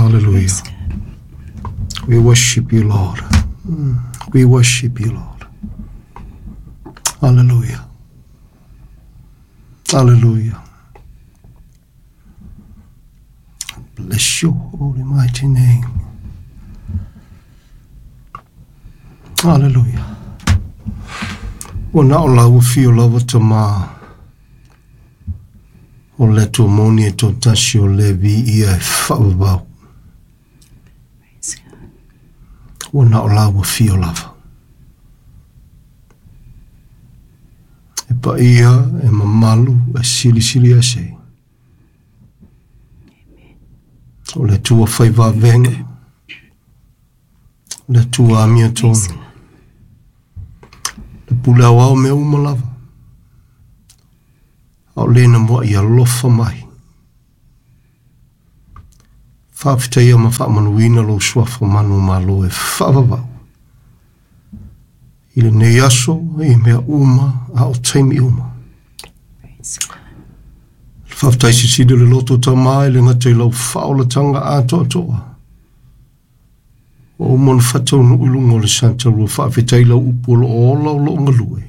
Hallelujah. Praise God. We worship you, Lord. We worship you, Lord. Hallelujah. Hallelujah. Bless your holy mighty name. Hallelujah. Ua na o lau afio lava tamā. O le Atua moni e toatasi o le viia e faavavau. Praise God. Ua na o lau afio lava. E paia, e mamalu, e silisili ese. O le Atua fai vavega. O le Atua amiotonu. Praise God. Le pule aoao mea uma lava. A o lena mua'i alofa mai. Faafetaia ma faamanuina lou suafa manumalo e faavavau. I lenei aso, i mea uma, a o taimi uma. Praise God. Faafetai silisili o le loto tamā e le gata i lau faaolataga atoatoa. Ua uma ona faataunuu i luga o le sataurua faafetai lau upu o loo ola o loo galue.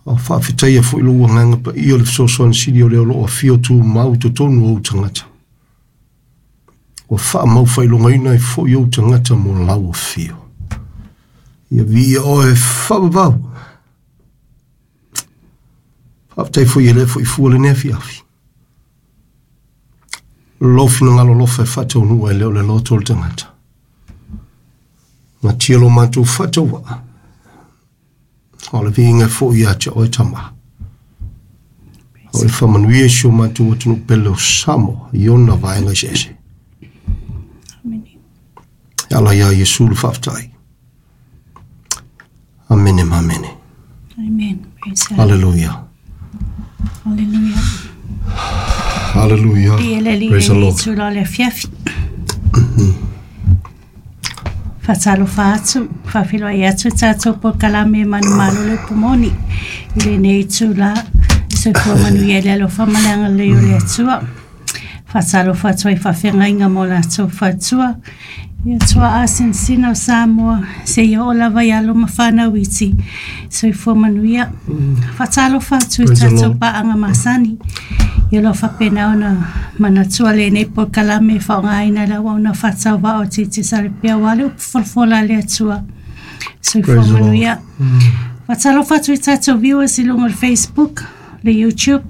A o faafetaia foi lou agaga paia o le fesoasoani sili o lea o loo afio tumau i totonu o ou tagata. Ua faamau faailogaina ai foi ou tagata mo lau afio. Ia viia oe faavavau. Faafetai foi e le foi fua lenei afiafi. Lou finagalo alofa e faataunuu e le o le loto o le tagata. Gatia lo matou faatauvaa. O le viiga foi ia te oe tamā. O le faamanuia i si o matou atunuu pele o Samoa i ona vaega eseese. Amen. E ala iā Iesu le faafetai. Amene ma amene. Amen. Praise God. Hallelujah. Hallelujah. Hallelujah. Ia le Alii Praise the lenei Lord. itula o le afiafi. Faatalofa atu, faafeiloai atu tatou polokalame manumalo le upu moni i lenei itula. Soifua manuia i le alofa ma le agalelei o le Atua. Faatalofa atu ai faafeagaiga mo latou faletua. Ia tuaa sinasina o Samoa, seia oo lava i alo ma fanau iti. Soifua manuia. Faatalofa atu i Praise the tatou Lord. paaga masani. Ia o lo o faapena ona manatua lenei polokalame e faaaogaina i le auauna faatauvaa o Titi Salepea aua le upu folafola a le Atua. Soifua Praise the Lord. manuia. Faatalofa atu i tatou viewers i luga o le Facebook, le YouTube,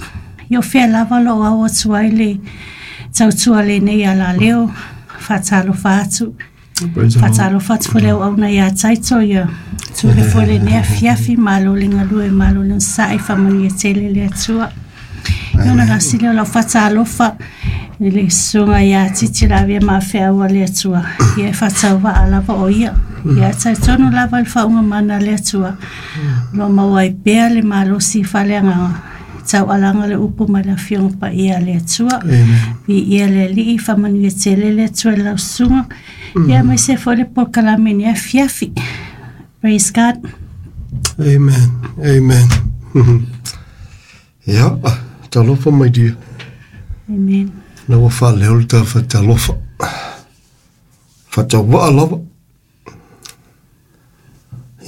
ia o fea lava o lo o ao atu ai le tautua lenei alaleo. Faatalofa atu. Praise the Lord. Faatalofa atu foi le auauna ia Taito, ia tule foi lenei afiafi, malo le galue, malo le onosai, faamanuia tele le Atua. Ia ona lasi lea o lau faatalofa i le susuga ia Titi Lavea Mafeau a le Atua. Ia e faatauvaa lava o ia. Ia e talitonu lava i le faauuga mana a le Atua. O lo o maua ai pea le malosi faaleagaga. Taualaga le upu mai le afioga paia a le Atua. Amen. Viia le Alii, faamanuia tele le Atua i lau susuga. Ia aemaise foi le polokalame i lenei afiafi. Praise God. Amen. Amen. Ia, talofa my dear. Amen. Na ua faaleo le tala faatalofa. Faatauvaa lava.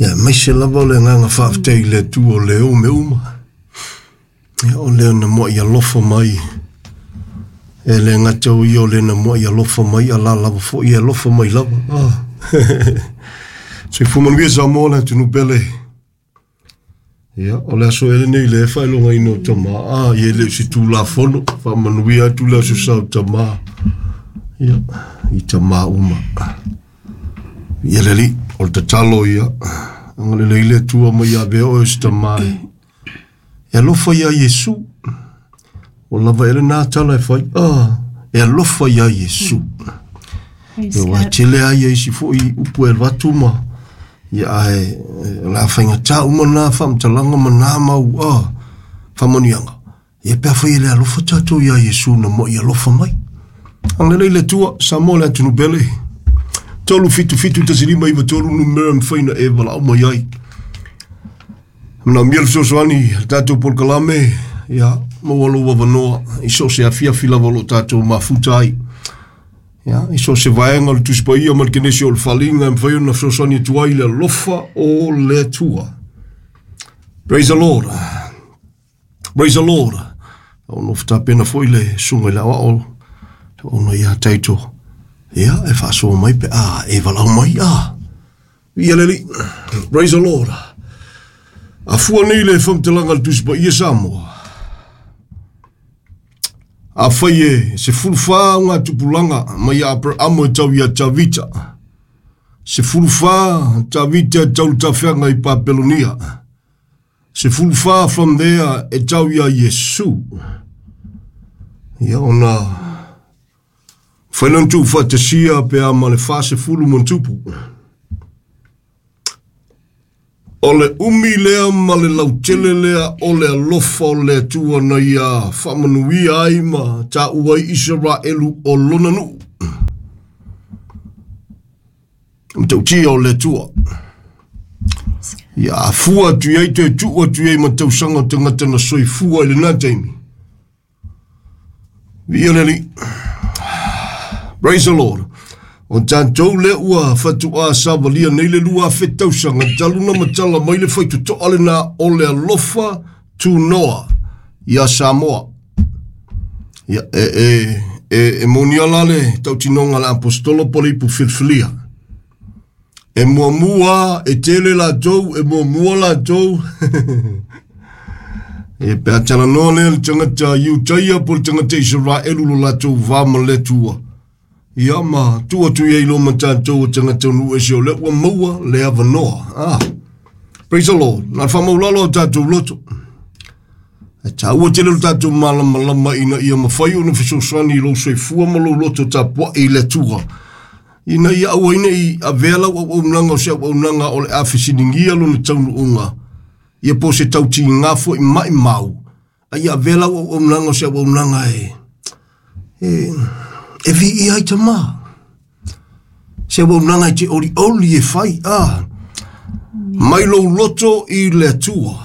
Ia, aemaise lava o le agaga faafetai i le Atua o le o mea uma. Ia, o lea na muai alofa mai. E le gata o ia o le na muai alofa mai, a la lava foi e alofa mai lava. Ah. Soifua manuia Samoa le atunuu pele. Ia, o le aso ea lenei le faailogaina o tamā. Ah, ia e le o se Tulafono. Faamanuia atu le aso sa o tamā. Ia, i tamā uma. Ia le Alii, o le tatalo ia. Agalelei le Atua ma ia avea oe o se tamā e. E alofa iā Iesu. Ua lava ea lenā tala e fai. Ah, e alofa iā Iesu. Praise Ia, ua God. tele ai ia isi foi upu e alu atu ma ia ae o le a faigata uma na faamatalaga ma na mau faamanuiaga. Ia pe afai e le alofa tatou iā Iesu na muai alofa mai. Agalelei le Atua, Samoa le atunuu pele. 3 7 7 1 5 9 3 numera e mafai ona e valaau mai ai. Manaomia le fesoasoani i le tatou polokalame, ia maua lou avanoa i so o se afiafi lava o lo o tatou mafuta ai. Ia, i so se vaega o le Tusi Paia ma le Kenesi o le Faaaliga e mafai ona fesoasoani atu ai le alofa o le Atua. Praise the Lord. Praise the Lord. O nofo tapena foi le susuga i le aoao ona ia Taito. Ia, e faasoa mai pe a e valaau mai a. Ia le Alii. Praise the Lord. A fua nei le faamatalaga a le Tusi Paia Samoa. Afai e 14 augatupulaga mai ia Aperamo e tau ia Tavita, 14 Tavita e tau le tafeaga i Papelonia, 14 from there e tau ia Iesu. Ia ona whai tu whatasia pe a ma le 40 ma tupu. O le umi lea ma le lautele lea o le alofa o le Atua na ia faamanuia ai ma taua ai Isaraelu o lona nuu. Matautia o le Atua. Ia afua atu i ai toe tuu atu i ai ma tausaga o tagata na soifua i lena taimi. Viia le Alii. Praise the Lord. O tatou lea ua fatuā savalia nei le 2000 tausaga talu na matala mai le faitotoa lena o le alofa tunoa ia Samoa. Ia, e monia la le tautinoga a le apostolo po le ipu filifilia. E muamua, e tele latou, e muamua latou. E pe a talanoa lea le tagata Iutaia po le tagata Isaraelu lo latou va ma le Atua. Ia ma tuu atu i ai loa ma tatou o tagata o nuu ese o lea ua maua le avanoa. Ah, praise the Lord. Na le faamaulalo o tatou loto. E taua tele lo tatou malamalama ina ia mafai ona fesoasoani i lou soifua ma lou loto tapuai i le Atua. Ina ia aua ai ne i avea lau auaunaga o se auaunaga o le a fesiligia lona taunuuga. Ia po o se tautiga foi maimau. A ia avea lau auaunaga o se auaunaga e viia ai tama. Se auaunaga e te olioli e fai. Ah, mai lou loto i le Atua.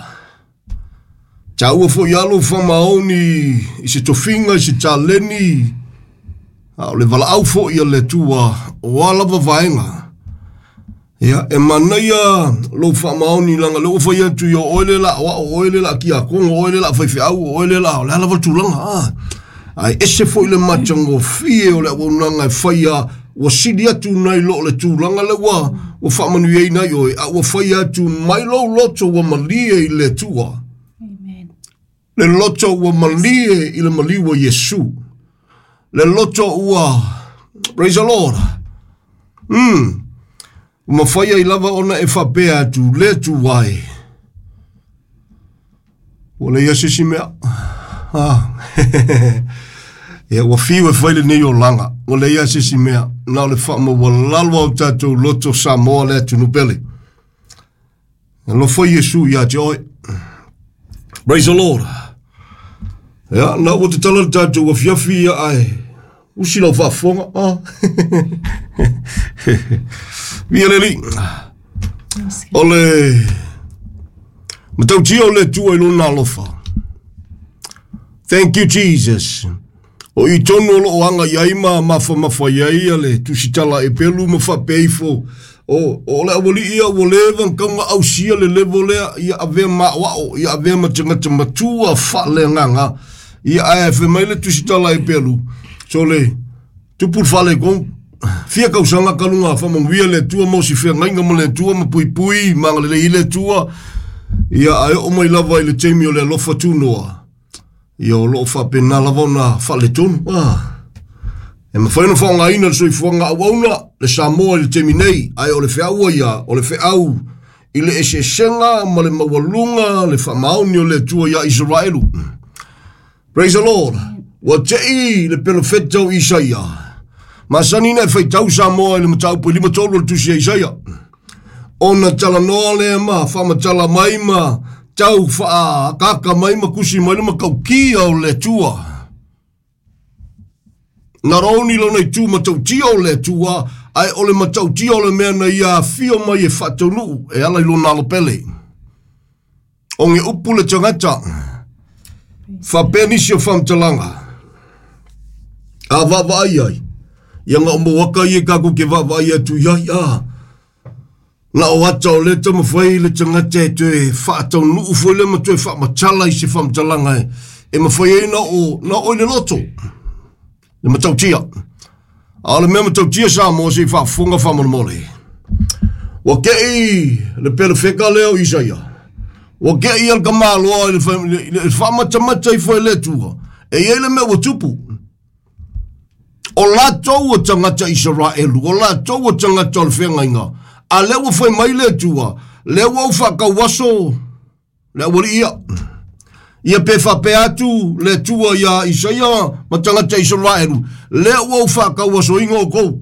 Taua foi a lou faamaoni i se tofiga, i se taleni, a o le valaau foi a le Atua o a lava vaega. Ia, e manaia lou faamaoni laga lea ua fai atu ia o oe le la oa, o oe le la kiakogo, o oe le la faifeau, o oe le la, o le a lava le tulaga. Ah. Ae ese foi le matagofie o le auaunaga e faia ua sili atu nai lo le tulaga lea ua faamanuiaina ai oe, a ua faia atu mai lou loto ua malie i le Atua. Amen. Le loto ua malie i le maliu o Iesu. Le loto ua, praise the Lord. Mafai ai lava ona e faapea atu le Atua ai. Ua leai se isi mea. Ah. Ia, ua fiu e fai lenei olaga. Ua leai se isi mea. Na o le faamaualalo au tatou loto Samoa le atunuu pele. Alofa Iesu ia te oe. Praise the Lord. Ia, na ua tatala le tatou afiafi ia ae usi lau faafofoga. Ah. Viia le Alii. O le matautia o le Atua i lona alofa. Thank you, Jesus. O i tonu o loo aga i ai ma mafamafa i ai ia le tusitala e pelu ma faapea ifo. O le awalii ia ua leva na tau na ausia le level lea ia avea maoao, ia avea ma tagata matua faaleagaga. Ia ae fai mai le tusitala e pelu. So le tupu le faaletonu. Fia tausaga talu na faamanuia le Atua ma o si feagaiga ma le Atua ma puipui ma agalelei i le Atua. Ia ae oo mai lava i le taimi o le alofa tunoa. Ia o loo faapena lava ona faaletonu. Ah. E mafai ona faaaogaina le soifuaga auauna le Samoa i le taimi nei, ae o le feau ia, o le feau i le eseesega ma le maualuga le faamaoni o le Atua ia Isaraelu. Praise the Lord. Ua tei le pelofeta o Isaia. Masani na e faitau Samoa i le mataupu e 53 o le tusi a Isaia. Ona talanoa lea ma faamatala mai ma tau faaakaka mai ma kusi mai le matautia o le Atua. Not only lona itu matautia o le Atua, ae o le matautia o le mea na ia afio mai e faataunuu e ala i lona alopele. O ge upu le tagata, faapea nisi o faamatalaga, a vaavaai ai, Ia ga o mouaka ia kākou ke vaavaai atu i ai a. Na o ata o le taumafai le tagata e toe faataunuu foi lea ma toe faamatala i se faamatalaga e mafai ai na o na o i le loto. Le matautia. A o le mea matautia Samoa se i faafofoga faamolemole. Ua kei le pelefeka lea o Isaia. Ua kei al kamaloa i le faamatamata ifo e le Atua. E i ai le mea ua tupu. O latou o tagata Isaraelu, o latou o tagata o le feagaiga, a lea ua fai mai le Atua, lea ua ou faakauaso le aualii ia. Ia pe faapea atu le Atua ia Isaia ma tagata Isaraelu, lea ua ou faakauasoina oukou.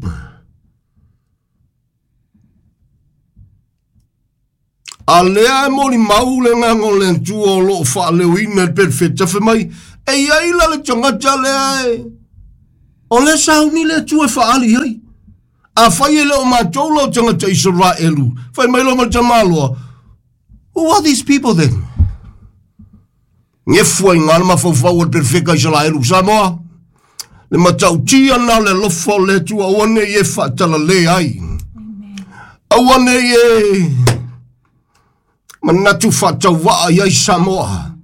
A lea e molimau le agaga o le Atua o loo faaleoina i le perofeta fai mai, e i ai la le tagata lea e o lea sauni le Atua e faaali i ai. Afai e le o matou la o tagata Isaraelu, fai mai loa ma le tamaloa, who are these people then? Gefu ai gā le mafaufau o le perofeka Isaraelu Samoa. Le matautia na o le alofa o le Atua aua ne i e faatalale ai. Aua ne i e manatu faatauvaa i ai Samoa.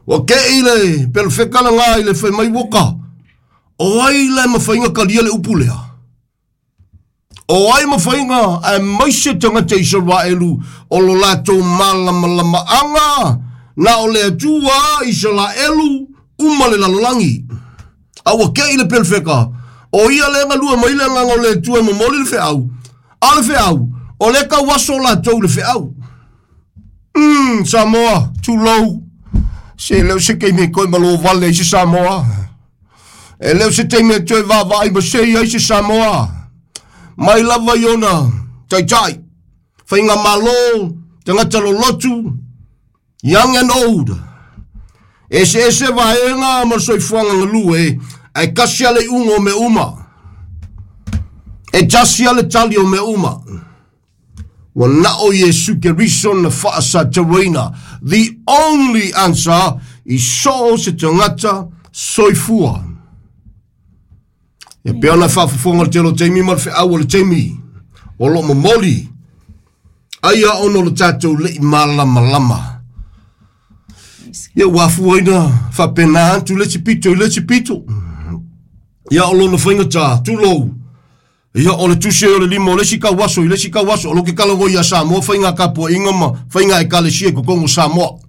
Ua kei le perofeka lagā i le fai mai uoka. O ai la e mafaiga kalia le upu lea? O ai mafaiga ae maise tagata Isaraelu o lo latou malamalamaaga na o le Atua Isaraelu uma le lalolagi. A ua kei le perofeka, o ia le galua mai le agaga o le Atua e momoli le feau. A le feau, o le kauaso latou le feau. Samoa, tulou. Se leo se taimi e toe malo vale ai se Samoa. E leo se taimi e toe vaavaai ma sei ai se Samoa. Mai lava i ona taitai. Faiga malo, tagata lolotu, young and old. Eseese vaega ma le soifuaga galue, ae kasi a le iuga o mea uma. E tasi a le tali o mea uma. Ua nao Iesu Keriso na faasatauaina. The only answer i so o se tagata soifua. E pea ona faafofoga le tele o taimi ma le feau o le taimi. O loo momoli. Ai a ona o le tatou lei malamalama. Ia ua afuaina faapena atu le isi pito i le isi pito. Ia o lona faigata, tulou. Ia o le tusi ai o le lima o le isi kauaso i le isi kauaso. O lo ke kalago ia Samoa faiga tapuaiga ma faiga ekalesia i totonu o Samoa.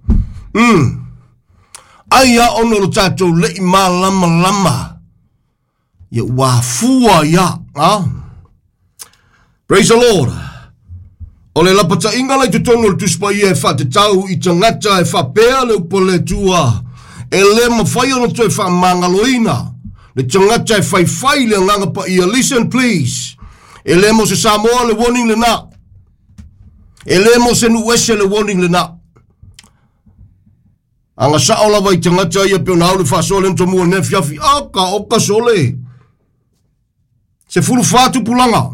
Ai a ona o le tatou lei malamalama. Ia ua afua ia. A? Praise the Lord. O le lapataiga la i totonu o le Tusi Paia e faatatau i tagata e faapea le upu a le Atua e le mafai ona toe faamagaloina le tagata e faifai le agaga paia. Listen please. E le mo se Samoa le warning lena. E le mo se nuu ese le warning lena. Aga sao lava i tagata ia pe ona au le faasoa le tomua ne fiafi. Aka oka sole. 14 tupulaga.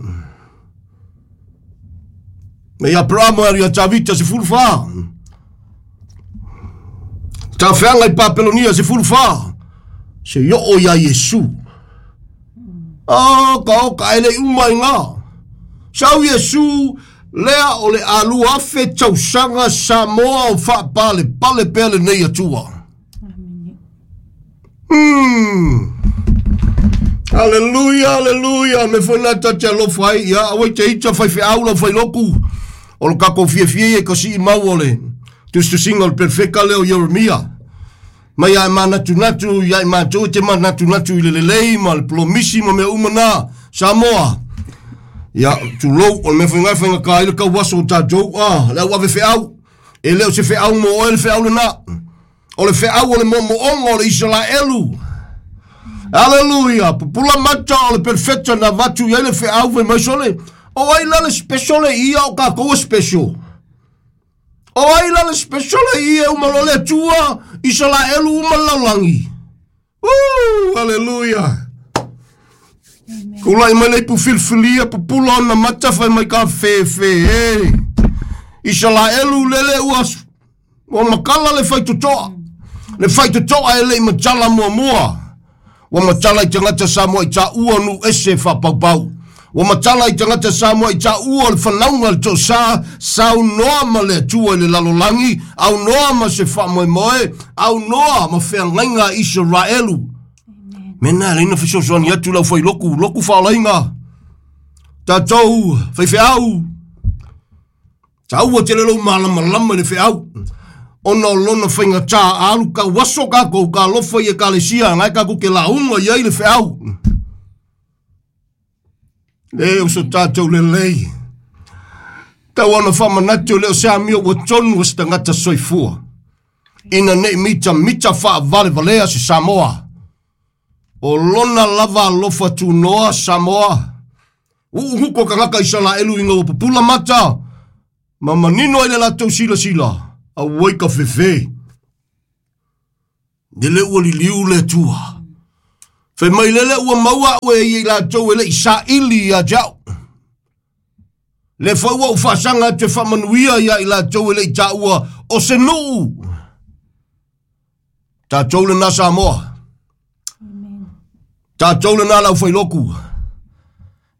Me ia Aperama ia Tavita 14. Tafeaga i Papelonia 14. Se ioo ia Iesu. Ka oka e le uma i ngā. Sau Iesu lea o le alua afe tausaga Samoa o faapale pale pea lenei Atua. Hallelujah, hallelujah. Me foi na tate alofa ai. Ia, aua i te ita fai feau lau fai loku. O lo kako fiafia ia ka sii mau o le tusitusiga o le perfeka lea o Ieremia. Mai ai manatunatu, ia i matou te manatunatu i le lelei ma le polomisi ma mea uma na. Samoa. Ia, tulou, o le mea whaingai whainga ka ai le kauaso o tātou. Ah, le au ave feau. E leo se feau mo oe le feau lena. O le feau o le momoonga o le Isaraelu. Hallelujah. Pupula mata o le perfecta na vatu i ai le feau fai mai sole. O ai la le special le ia o kākou e special. O ai la le special le ia uma lo le Atua Isaraelu uma le lalolagi. Hallelujah. Kulai mai le ipu filifilia pupula ona mata fai mai ka fefe e. Isaraelu lele ua makala le faitotoa. Le faitotoa e le i matala muamua. Ua matala i tagata Samoa i taua nu ese whapaupau. Ua matala i tagata Samoa i taua o le whanauga le tosa, saunoa ma le Atua i le lalolagi, aunoa ma se faamoemoe, aunoa ma feagaiga a Isaraelu. Mena e leina fesoasoani atu lau failoku, loku faolaiga. Tatou faifeau, taua tele lou malamalama i le feau. Ona o lona faigata alu kau aso kākou ka alofa i ekalesia, ngai kākou ke launga i ai le feau. Le o so tātou lelei. Tau ona whamanatu le o se amio ua tonu o se tagata soifua. Ina nei mita mita whaavale valea se Samoa. O lona lava alofa tunoa Samoa. Uu huko kangaka Isaraelu inga ua pupula mata. Ma manino ai le latou sila sila. A ua ka fefe. Le ua liliu le tua. Fai mai lele ua maua ue i latou e le isaili ia jau. Le fai ua uwhaasanga te whamanuia ia i latou e le i tāua o se nuu. Tātou le nā Samoa. Tātou le nā lau whailoku.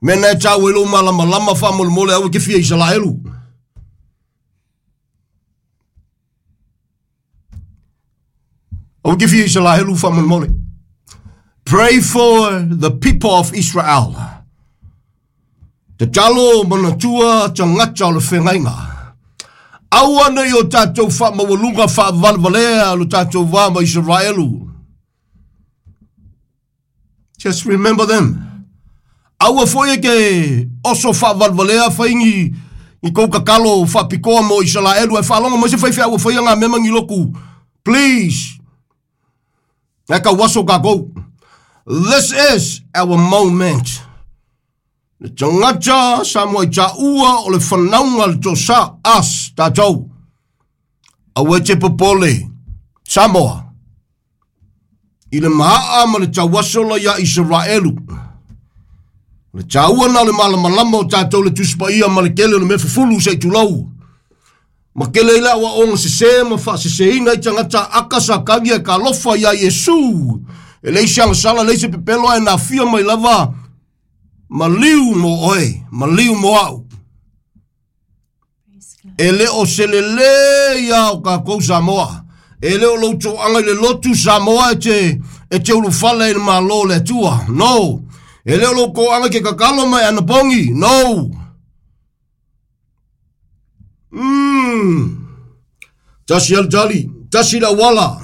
Mena e tāu e lo malama lama whamolemole au e ke fia Isaraelu. Au ke fia Isaraelu whamolemole. Pray for the people of Israel. Te talo manatua tagata o le feagaiga. Aua nei o tatou faamaualuga faavalevalea lo tatou va ma Israelu. Just remember them. Aua foi e ke oso faavalevalea faigi i kou kakalo faapikoa mo Israelu e faalogo mai se faifeau faia ngā mema ngi loku. Please. E ka waso kākou. This is our moment. Le tagata Samoa i tāua o le whanauga le tosa as tātou. Aua e te popole Samoa. I le maa ma le tauasola ia Israelu. Le tāua na le malamalama o tātou le tusipaia ma le kele o le mea fufulu se i tulau. Ma kele ila wa onga se se ma fa se se ina i tangata aka sa kangi e ka lofa ia Iesu. E leisi anga sala leisi pepelo e nā fia mai lava. Ma liu mo oe, ma liu mo au. E le o selele ia o kākou Samoa. E le o lau toanga i le lotu Samoa e te ulufale i le malo le Atua. No. E le o lau koanga ke kakalo mai anapongi. No. Tasi al tali, tasi la wala.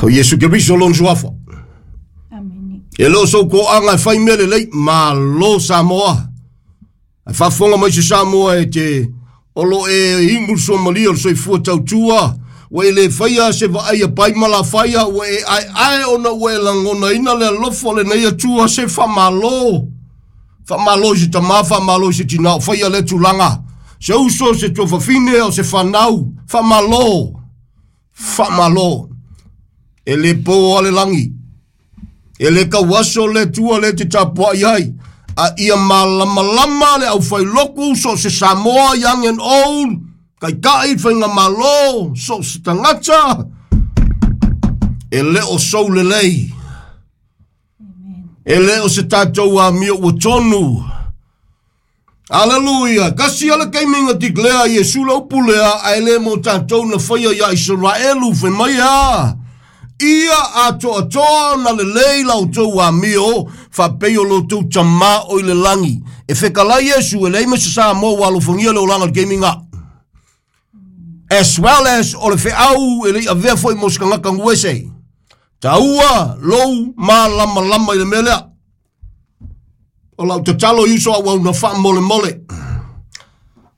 O Yesu Keriso lon suafa. E lo sou koanga e whai mele lei, ma lo Samoa. E whafonga mai se Samoa e te olo e ingul somalia o le soifua tautua. Ua e le whaia se vaai a pai mala whaia, ua e ai ai ona ua e langona ina le alofo le nei atua se whamalo. Whamalo i se tama, whamalo i se tinao, whaia le tulaga. Se uso se tuafafine o se whanau, whamalo. Whamalo. E le pō ale langi. E le kauaso le tua le te tapua i ai. A ia malamalama le au whailoku so se Samoa young and old. Kai kai whainga malo so se tangata. E le o sou lelei. E le o se tātou a mio ua tonu. Hallelujah. Kasi ala kaiminga tiklea Yesu lau pulea a ele mo tātou na whaia ia Israelu whai mai a. Ia atoa atoa na le lei lau tau a mio whapei o lo tau tama o i le langi. E whekala Yesu e lei mesa sa mo walofongia le olanga le kaiminga. As well as o le wheau e lei avea foi mo skangaka nguese. Taua lou ma lama lama i le melea. O lau tatalo yuso au au na wha mole mole.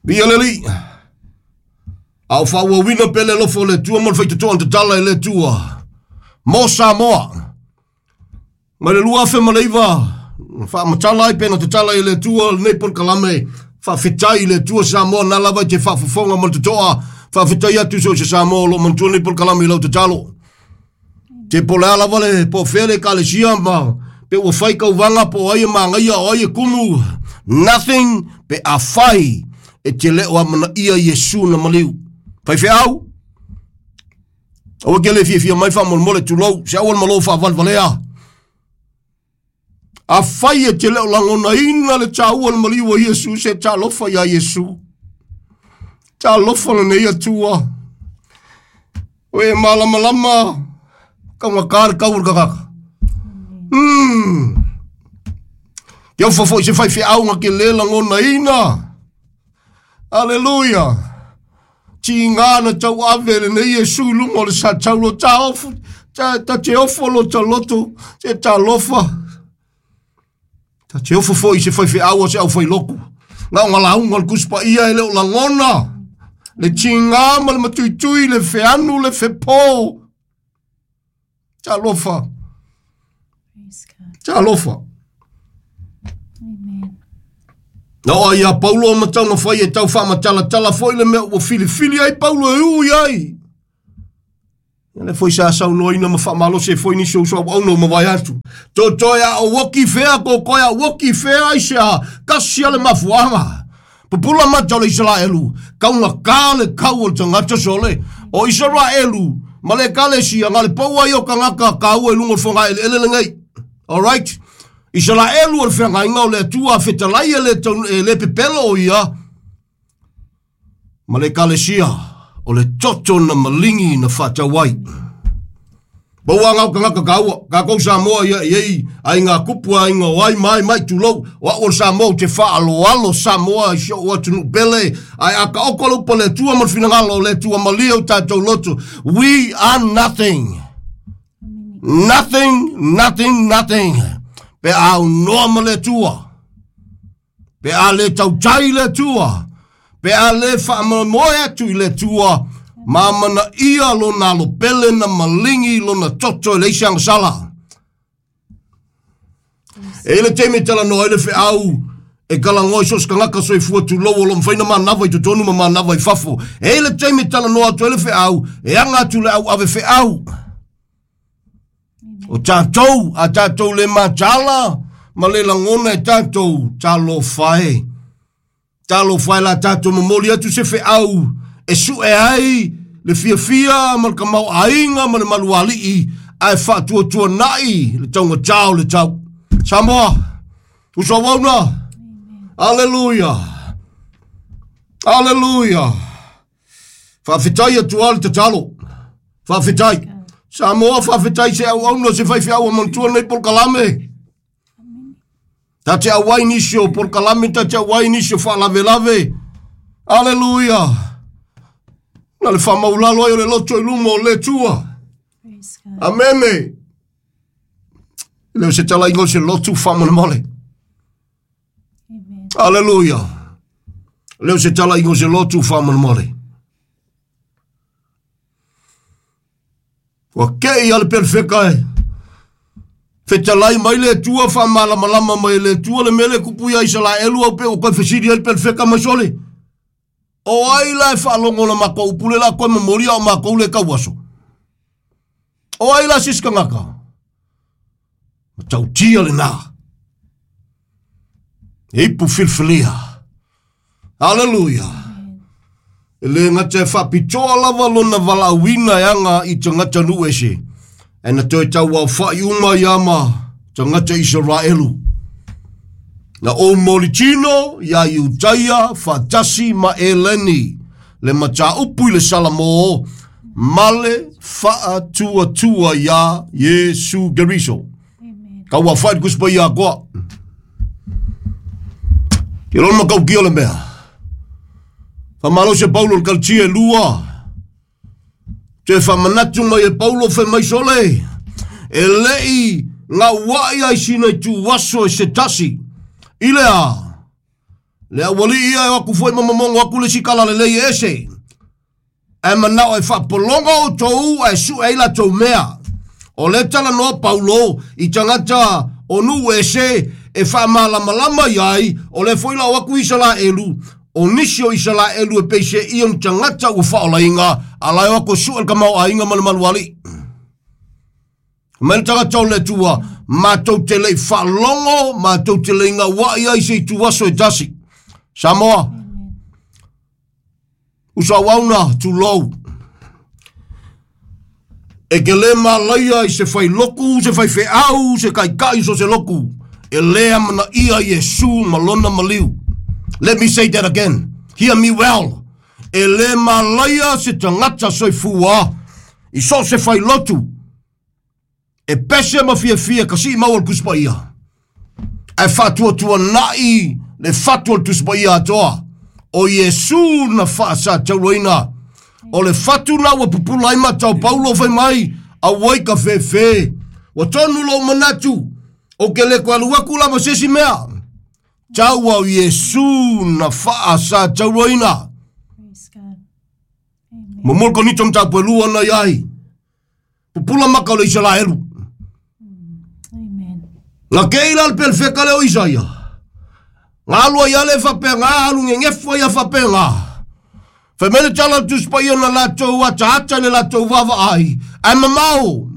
Via leli. Au wha ua wina pele lofo le tua mo le whaitatoa an tatala e le tua. Mo Samoa. Mai le lua afe maleiva. Wha matala ai pena tatala i le tua le nei polokalame. Wha whitai le tua Samoa nā lava i te whaafofonga mo le tatoa. Wha whitai atu so se Samoa lo mantua nei polokalame i lau tatalo. Te po lea lava le po whele ka le sia ma pe ua whai kauvanga po ai e maangaia o ai e kumu. Nothing pe a whai e te leo a mana ia Yesu na maliu. Whai wheau? Aua ke le fiafia mai faamolemole tulou, se aua le malo faavalevalea. Afai e te le o lagonaina le taua o le maliu o Iesu, se talofa iā Iesu. Talofa lenei Atua. O e malamalama, kaugata le kau o le tagata. Ke ofa foi se faifeau na ke le lagonaina. Aleluia. Tiga na tauave lenei Iesu i luga o le sataulo taofu, ta te ofo lo taloto, se talofa. Ta te ofo foi se faifeau o se au failoku. Na o ngalaunga o le kuspaia e le o lagona. Le tiga ma le matuitui, le feanu, le fepo. Talofa. Talofa. Amen. Na oa ia Paulo o matau na fai e tau faamatalatala foi le mea ua filifili ai Paulo e ui ai. Ia le foi sa saunoaina ma faamalosi ai foi nisi o uso auauna ua mavae atu. Totoe a o oki fea, kokoe a oki fea ai se a, kasi a le mafuaaga. Pupula mata o le Isaraelu, kaugata le kau o le tagata sole. O Isaraelu ma le ekalesia, na le pau ai o tagata kaua i luga o le fogaeleele lenei. Alright? Isaraelu o le feagaiga o le Atua fetalai e le, e le pepelo o ia ma le ekalesia o le toto na maligi na faatau ai. Pau a ngau tagata kaua, kākou Samoa ia i ei ai ngā kupu ai ngā o ai mai mai tulou, o au o le Samoa ou te whaaloalo Samoa i si o atunuu pele, ai a ka oko le upa le Atua ma le finagalo o le Atua malie o tātou loto. We are nothing. Nothing, nothing, nothing. Pe a aunoa ma le Atua. Pe a le tautai le Atua. Pe a le faamoemoe atu i le Atua, ma amanaia lona alopele na maligi lona toto e leai se agasala. E i ai le taimi e talanoa ai le feau e kalagoa i so o se tagata soifua tulou o lo o mafai ona manava i totonu ma manava i fafo. E i ai le taimi e talanoa atu ai le feau e aga atu le au ave feau. O tatou, a tatou le mataala ma le lagona e tatou, talofa e. Talofa e la tatou momoli atu se feau e sue ai le fiafia ma le tamaoaiga ma le malualii ae faatuatuanai le taugata o le tau. Samoa, uso auauna, aleluia, aleluia. Faafetai atu lava le tatalo. Faafetai. Samoa, faafetai se auauna se faifeau a manatua lenei polokalame. Ta te auai nisi o polokalame, ta te auai nisi o faalavelave. Aleluia. Na le faamaulalo ai o le loto i luma o le Atua. Amene. E le o se talaiga o se lotu faamolemole. Aleluia. Le o se talaiga o se lotu faamolemole. Ua kei a le pelefeka e. Fetalai mai le Atua, faamalamalama mai e le Atua le mea lea e kupu ia Isaraelu au pe ua toe fesili ai le pelefeka mai sole. O ai la e faalogo na matou upu le la toe momoli a o matou le tauaso? O ai la se isi tagata? Matautia lena. E ipu filifilia. Aleluia. E le gata e faapitoa lava lona valaauina e aga i tagata nuu ese, ae na toe tauaofa'i uma ia ma tagata Isaraelu. Na ou molitino iā Iutaia faatasi ma Eleni, le mataupu i le Salamo ma le faatuatua iā Iesu Keriso. Tauaofa'i le Tusi Paia atoa. Ke lona matautia o le mea. Faamalosi e Paulo i le Kalatia e lua. Toe faamanatu mai e Paulo fai mai sole, e le'i gaua'i ai sina ituaso e se tasi. I le a? Le aualii ia e o atu foi ma momono atu le isi talalelei e ese. Ae manao e faapologa outou ae sue ai latou mea. O lea talanoa Paulo i tagata o nuu ese e faamalamalama i ai, o lea foi la o atu Isaraelu, o nisi o Isaraelu e pei se ia o ni tagata ua faaolaina, a la e o atu e sue le tamaoaiga ma le malualii. Mai le tagata o le Atua, matou te le i faalogo, matou te le i gauai ai se ituaso e tasi. Samoa, uso auauna, tulou. E ke lē malaia i se failoku, se faifeau, se taitai so se loku, e lē amanaia Iesu ma lona maliu. Let me say that again. Hear me well. E lē malaia se tagata soifua i so o se failotu e pese ma fiafia ka sii maua le Tusi Paia, ae faatuatuanai le fatu o le Tusi Paia atoa o Iesu na faasatauaina. O le fatu na ua pupula ai matau Paulo fai mai, auai ka fefe. Ua tonu lou manatu, o ke le koe alu aku la ma se isi mea. Tau au Iesu na faasatauaina. Praise God. Amen. Momoli konito mataupu e lua na iai. Pupula maka o le Isaraelu. Amen. Na kei la le pelefeka le o Isaia. Nga alu ai ale faapea alu ngegefu ai a faapea. Fai mai le tala o le Tusi Paia na latou ataata i le latou vaavaai, ae mamao.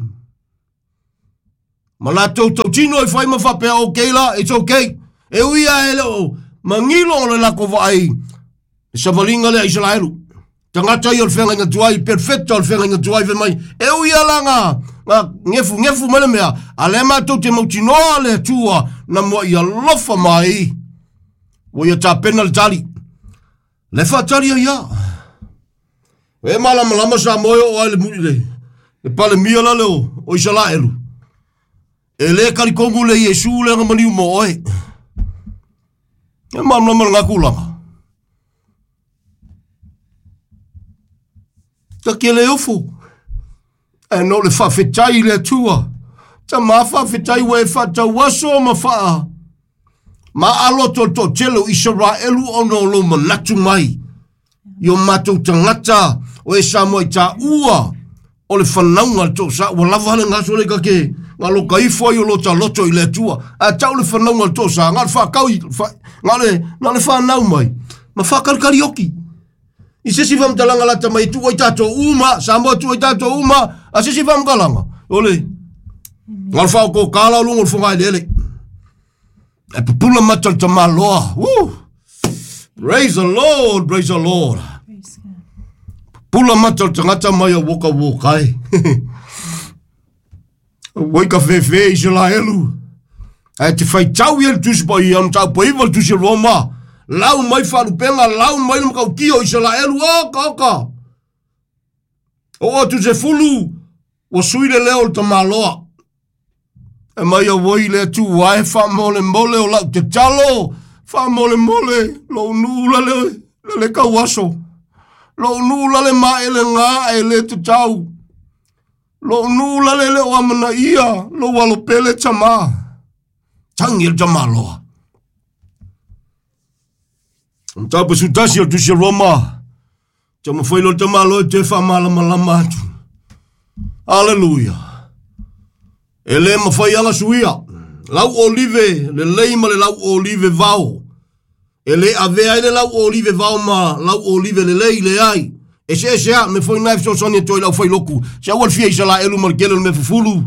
Ma latou tautino ai fai ma faapea, okay la, it's okay. E ui lava e le o magilo o le latou vaai le savaliga lea a Isaraelu. Tagata ia o le feagaiga tuai, perfecta o le feagaiga tuai, fai mai, e ui lava la nga, nga gefugefu mai le mea, a lea matou te mautinoa le Atua na muai alofa mai, ua ia tapena le tali. Le faatali ai ia. E malamalama Samoa e oo ai le, le, le palemia la le o, o Isaraelu. E le talitonu le Iesu le maliu mo oe. E malamalama le tulaga. Ta ke le ofo. E no le faafetai i le Atua. Tama faafetai ua e faatauaso ma faa. Ma alo to to tele o Isaraelu ona o lou manatu mai. I o matou tagata o e Samoa i taua o le fanauga le toosa ua lava le gaso le kake nga lo kaifo ai o lo taloto i le Atua. A tau le fanauga le toosa nga le whakau i nga le nga le whanau mai ma whakalikali oki. I se si whamtalanga lata mai tu ai tātou uma, Samoa tu ai tātou uma, a se si whamtalanga. Ole, nga le whao ko kala o lungo le whangai lele. E pupula mata le tamaloa. Woo! Praise the Lord, praise the Lord. Praise God. Pula mata le tagata mai a woka wokai. Wai ka fefe Israelu. Ae te faitau ia le Tusi Paia, na tau paiva le Tusi Roma. Lau mai faalupenga, lau mai le makaukia o Israelu, oka, oka. O atu se fulu, ua sui le leo o le tamaloa. E mai auoi le Atua e faamolemole o lau tatalo, faamolemole lou nuu la le, la le kauaso. Lou nuu la le maelega e le tatau. Lou nuu la le le o amanaia, lou alo pele tama. Tangi le tamaloa. Mataupu sutasi o le Tusi a Roma. Taumafai loa le tamaloa e toe faamalamalama atu. Aleluia. E le mafai ala suia. Lau olive lelei ma le lau olive vao. E le avea ai le lau olive vao ma lau olive lelei, leai. Eseese a, me foi nai fesoasoani atu ai lau failoku. Se aua le fia Isaraelu ma le tele o le mea fufulu.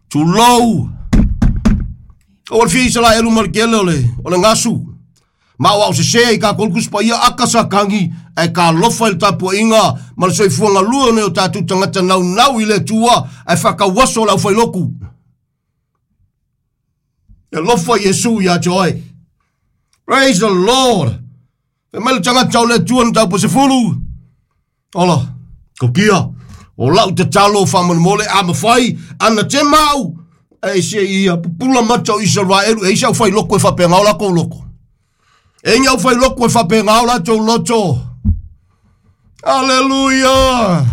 Tulou. Aua le fia Isaraelu ma le tele o le, o le gasu. Ma o au sesē i kākou le Tusi Paia aka sa kagi ae talofa i le tapuaiga ma le soifua galue o nai o tatou tagata naunau i le Atua ae faatauaso le aufailotu. E alofa Iesu ia te oe. Praise the Lord. Fai mai le tagata o le Atua na tau 10. Ola, kokia, o lau tatalo faamolemole a mafai ana te mau e se ia pupula mata o Isaraelu e isa au failoko e faapena o lakou loko. E inga au failoko e faapena o latou loto. Aleluia!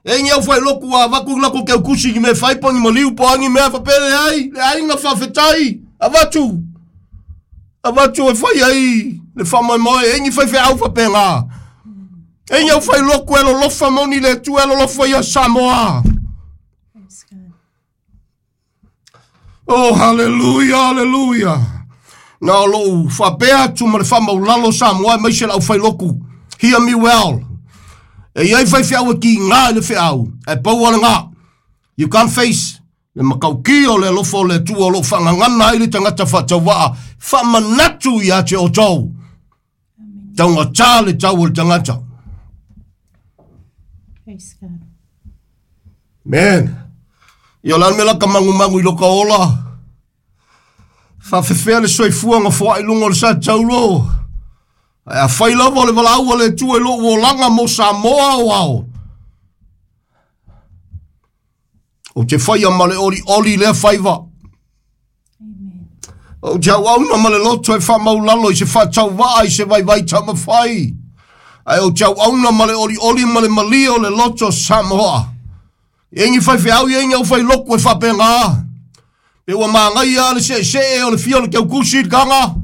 E inga au failoko a avatu lako ke kusi ni me fai po ni maliu po angi mea faapea leai, le aiga faafetai, avatu. Avatu e fai ai le faamoemoe, e ingi faifeau faapena. E ingi au failoko e lolofa moni le Atua e lolofa ia Samoa. Praise God. Oh, haleluia, haleluia. Na o lou faapea atu ma le faamaulalo Samoa e maise lau failoku. Hear me well. E iai faifeau e kiga i le feau, ae pau lava lena. You can't face le matautia o le alofa o le Atua o lo o faagagana ai le tagata faatauvaa, faamanatu ia te outou. Taugata le tau o le tagata. Praise God. Man. Ia o le a le mea la ka magumagu i loka ola. Faafefea le soifua foai luga o le sa taulo. Ae afai lava o le valaau a le Atua i lou olaga mo Samoa o ao. Ou te faia ma le olioli lea faiva. Ou te auauna ma le loto e faamaulalo i se faatauvaa i se vaivai taumafai. Ae ou te auauna ma le olioli ma le malie o le loto Samoa. E i ai ni faifeau, e i ai ni aufailoku e faapena. Pe ua magaia le seesee o le fia o le teukusi i le taga.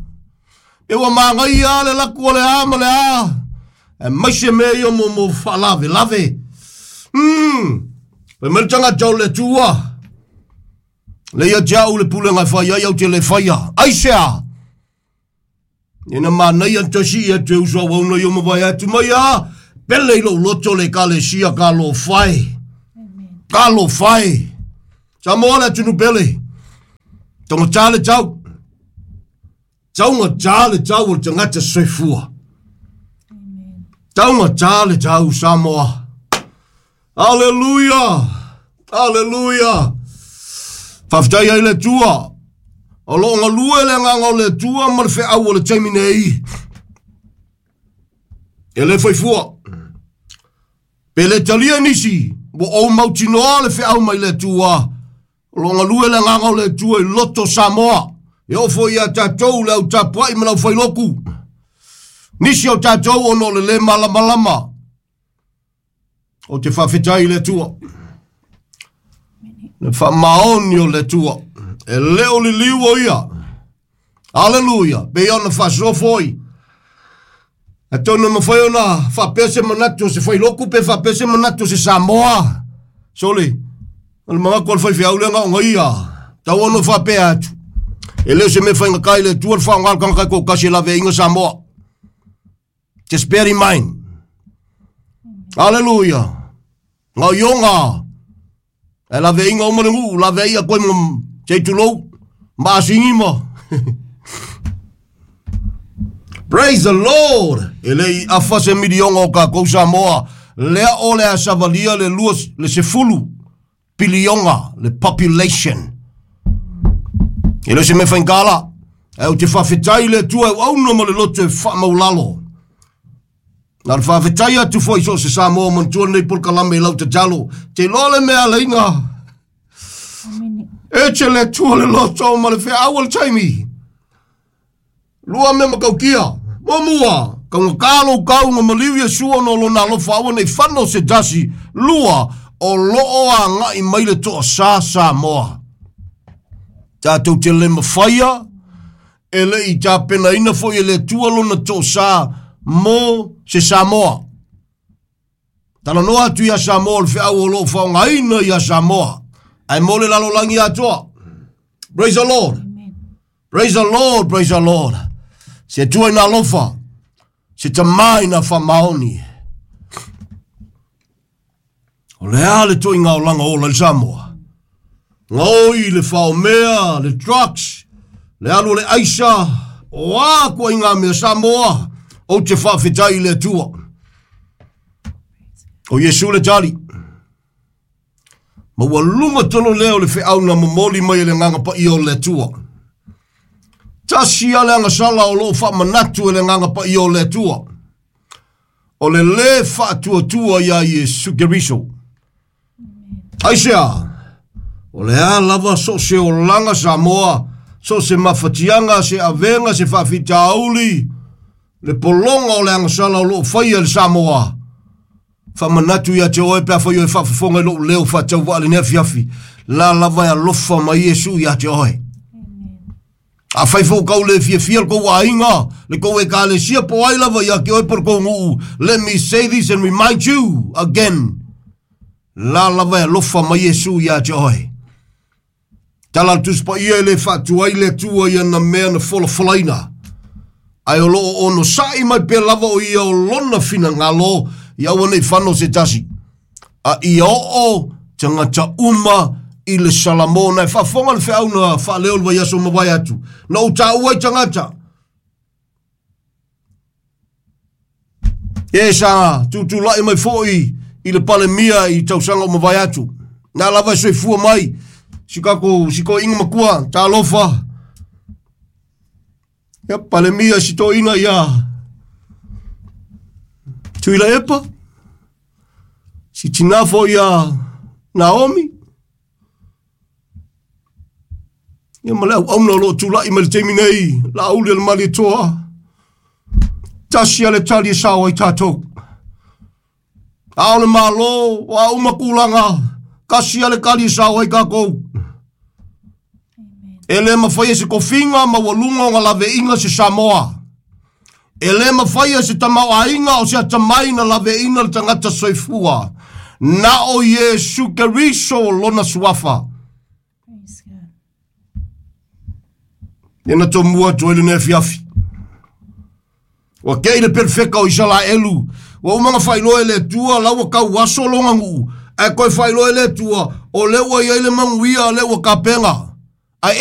Pe ua magaia le laku o le a ma le a. E maise mea ia mo mo faalavelave. Fai mai le tagata o le Atua. Le ia te au le pulega e fai ai au te le faia. Aisea? Ina manaia na toe sii atu e uso auauna i o mavae atu mai a, pele i lou loto le ekalesia talofa e. Talofa e. Samoa le atunuu pele. Taugata le tau. Taugata le tau o le tagata soifua. Taugata le tau Samoa. Aleluia! Aleluia! Faafetai ai le Atua. O lo o galue le agaga o le Atua ma le feau o le taimi nei. E le faifua. Pe le talia nisi, ua ou mautinoa le feau mai le Atua. O lo o galue le agaga o le Atua i loto Samoa. E oo foi ia tatou le au tapuai ma le aufailoku. Nisi o tatou ona o le le malamalama. Ou te faafetai i le Atua. Le faamaoni o le Atua. E le o liliu o ia. Aleluia. Pei ona faasoa foi. Atonu e mafai ona faapea se manatu o se failoku pe faapea se manatu o se Samoa. Sole, o le manatu o le faifeau lea na ona ia. Tau ona faapea atu. E le o se mea faigata i le Atua le faaaoga le tagata e toatasi e laveaiina Samoa. Just bear in mind. Aleluia. Ngā ionga. E lawe inga o le nuu, lawe ia koe mo te tulou, ma asingi ma. Praise the Lord. E le i afa se milionga o kākou Samoa. Lea o le a savalia le lua, le 10 pilionga, le population. E le o se mea faigata. Ae ou te faafetai i le Atua e auauna ma le loto e faamaulalo. Na le faafetai atu foi so o se Samoa manatua lenei polokalame i lau tatalo. Te iloa le mea alaina. E te le Atua le loto ma le feau o le taimi. Lua mea matautia. Muamua, taugata lou tau na maliu Iesu ona o lona alofa aua nei fano se tasi. Lua, o loo agai mai le toasā Samoa. Tatou te le mafaia, e le i tapenaina foi e le Atua lona toasā mo se Samoa. Talanoa atu ia Samoa o le feau o loo faaaogaina ia Samoa. Ae mo le lalolagi atoa. Praise the Lord. Praise the Lord, praise the Lord. Se Atua ina alofa, se Tamā ina faamaoni. O le a le toiga olaga ola i le Samoa? Gaoi le faomea, le drugs, le alu o le aisa, o a koaiga mea Samoa, ou te faafetai i le Atua. O Iesu le tali. Ma ua luga tonu lea o le feau na momoli mai e le Agaga Paia o le Atua. Tasi a le agasala o loo faamanatu e le Agaga Paia o le Atua. O le lē faatuatua iā Iesu Keriso. Aisea? O le a lava so o se olaga Samoa, so o se mafatiaga, se avega, se faafitauli, le pologa o le agasala o loo faia e le Samoa. Faamanatu ia te oe pe afai oe faafofoga i lou leo faatauvaa lenei afiafi, la lava e alofa mai Iesu ia te oe. Afai foi kau le fiafia le kou aiga, le kou ekalesia po o ai lava ia te oe po le kou nuu, let me say this and remind you again, la lava e alofa mai Iesu ia te oe. Tala a le Tusi Paia e le faatuai le Atua i ana mea na folafolaina, ae o lo o onosai mai pea lava o ia o lona finagalo ia aua nei fano se tasi, a ia oo tagata uma i le Salamo. Na e faafofoga le feau na faaleo i le vaiaso mavae atu, na ou taua ai tagata e sa tutulai mai foi i le Palemia i tausaga o mavae atu. Na lava e soifua mai si kako si toeina matua talofa. Ia palemia si toeina ia Tuila Epa, si tinafo ia Naomi. Ia ma le auauna o loo tula'i mai le taimi nei, laauli a le Malietoa. Tasi a le tali e sao ai tatou. A o le malo, o a uma tulaga, kasi a le tali e sao ai tatou. E le mafai e se tofiga maualuga ona laveaiina se Samoa. E le mafai e se tamaoaiga o se atamai na laveaiina le tagata soifua. Na o Iesu Keriso lona suafa. Praise God. Ia na tomua atu ai lenei afiafi. Ua kei le perfeka o Isalaelu. Ua uma na faailoa e le Atua la ua tau aso lona nuu. Ae toe faailoa e le Atua o lea ua iai le manuia, lea ua tapena. Ae